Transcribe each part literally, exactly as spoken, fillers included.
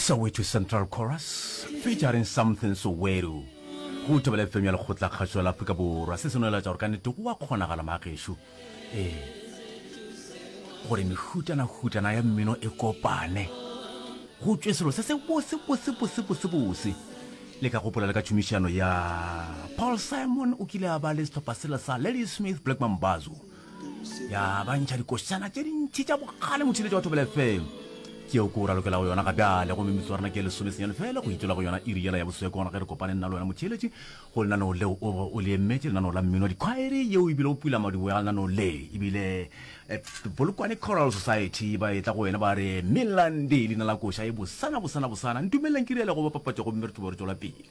Soweto Central Chorus featuring Something Soweto go Thobela F M ya Lekgotla Kgašo la Afrika Borwa. Se se no laetša gore ka nnete go a kgonagala magešo ee gore mehutana-hutana ya mmino e kopane go tšwe selo se se bose bose bose bose bose. Le ka gopola le ka tšhomišano ya Paul Simon o kile a ba le sehlopha sela sa Ladysmith Black Mambazo ya ba ntšha dikošana tše dintši tša bogale motšheletši wa Thobela F M ke yeo ke o ralokela go yona ga bjale gomme metsotso ya rena ke lesome senyane fela go itšwela go yona iri yela ya boswe ke gona ge re kopane nna le wena motšheletši go lenaneo leo o o le emetše lenaneo la mmino wa dikhwaere yeo ebile o pula madibogo ya lenaneo le ebile eh, Polokwane Choral Society ba etla go wena ba re Melande leina la koša e bosana bosana bosana ntumeleleng ke riale go bapapatša gomme re tlo be re tšwela pele.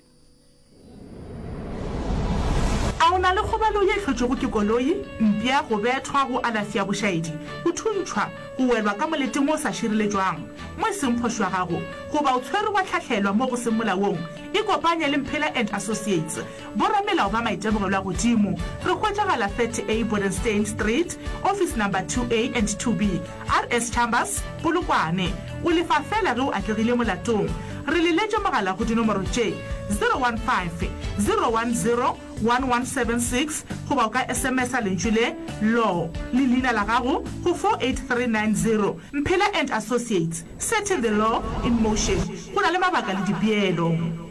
A o na le kgobalo ye e hlotšwego ke koloi, mpša, go bethwa, go alafša bošaedi, go thuntšhwa, go welwa ka moleteng wo o sa šireletšwang, mo e seng phošo ya gago, goba o tshwerwe wa hlahlelwa mo go seng molaong? Ikopanye le Mphela and Associates, boramelao ba maitemogelo a godimo. Re hwetšagala thirty A Bodenstein Street, Office Number two A and two B, R S Chambers, Polokwane. O lefa feela ge o atlegile molatong. Re leletše mogala go dinomoro tše, zero one five, zero one zero, one one seven six goba o ka S M S-a lentšu le, Law, le leina la gago go four eight three nine zero. Mphela and Associates, setting the law in motion. Go na le mabaka le dipeelo.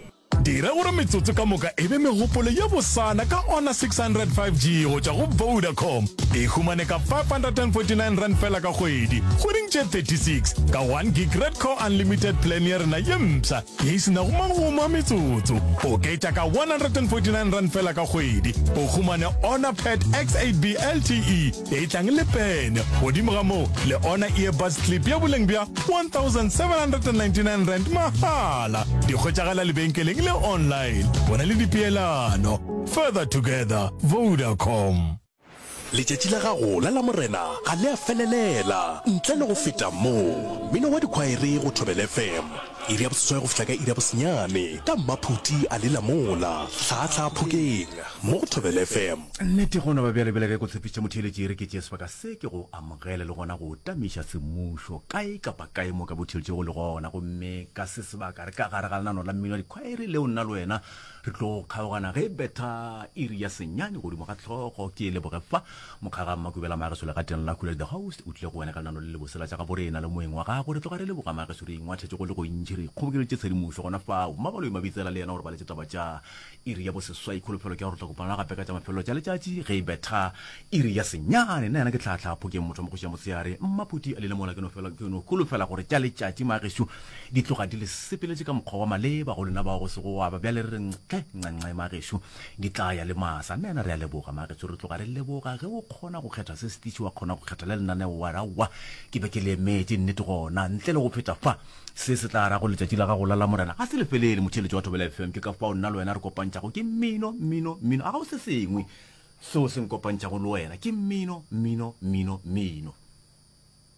Dira gore metsotso ka moka e be megopolo ye bosana ka Honor six hundred five G go tšwa go Vodacom. E humane ka five hundred and forty nine rand fela ka kgwedi, kgweding tše thirty six, ka one gig Red Core Unlimited plan ya rena ye mpsha ye e se nago magomo a metsotso. Oketša ka one hundred and forty nine rand fela ka kgwedi, o humane Honor Pad X eight B L T E ye e tlang le pene. Godimo ga moo, le Honor Earbuds Clip ya boleng bja one thousand seven hundred and ninety nine rand mahala. Di hwetšagala lebenkeleng le online. Bona le dipeelano. Further together, Vodacom. Letšatši la gago la Lamorena ga le a felelela ntle le go feta mo. Mmino wa dikhwaere go Thobela F M, iri ya boseswai go fihla ka iri ya bosenyane, ka Mmaphuti a le Lamola, Hlaahlaa Phokeng, mo go Thobela F M. Nnete go no ba bjale bjale ge ko tshepišitše motheeletši e re ke tšee sebaka se ke go amogele le gona go o tamiša semmušo kae kapa kae mo ka botheeletšego le gona gomme ka se sebaka re ka gare ga lenano la mmino wa dikhwaere leo nna le wena re tlo go kgaogana ge betha iri ya senyane godimo ga hlogo. Ke leboge fa mokgaga Mmakubela Mageso legateng la Khuledi the host o tlile go wena ka lenano le lebose la tša gaborena le moeng wa gagwe. Re tloga re leboga Mageso re ingwathetše go le gontši re ikgobokeleditše tshedimošo gona fao. Mmabaloi Mabitsela le yena o re baletše taba tša iri ya boseswai. Kholofelo ke ya gore re tla kopana gape ka tša mafelelo tša letšatši ge e betha iri ya senyane. Nna yena ke Tlhahla Phokeng motho wa mokgoši ya motshehare. Mmaphuti a lele mola ke no fela ke no holofela gore tša letšatši Mageso di tloga di le sepeletše ka mokgwa wa maleba go lena bao go sego gwa ba bjale re re ntle nxe Mageso di tla ya le masa. Nna yena re a leboga Mageso re tloga re leboga ge o kgona go kgetha se setiši wa kgona go kgetha le lenaneo wa re aowa ke be ke le emetše nnete gona ntle le go feta fa se se tla ra go letšatši la gago la Lamorena ga se le felele motheeletši wa Thobela F M ke ka fao nna le wena re kopantšhago ke mmino mmino mmino a ga o se sengwe seo se nkopantšhago le wena ke mmino mmino mmino mmino.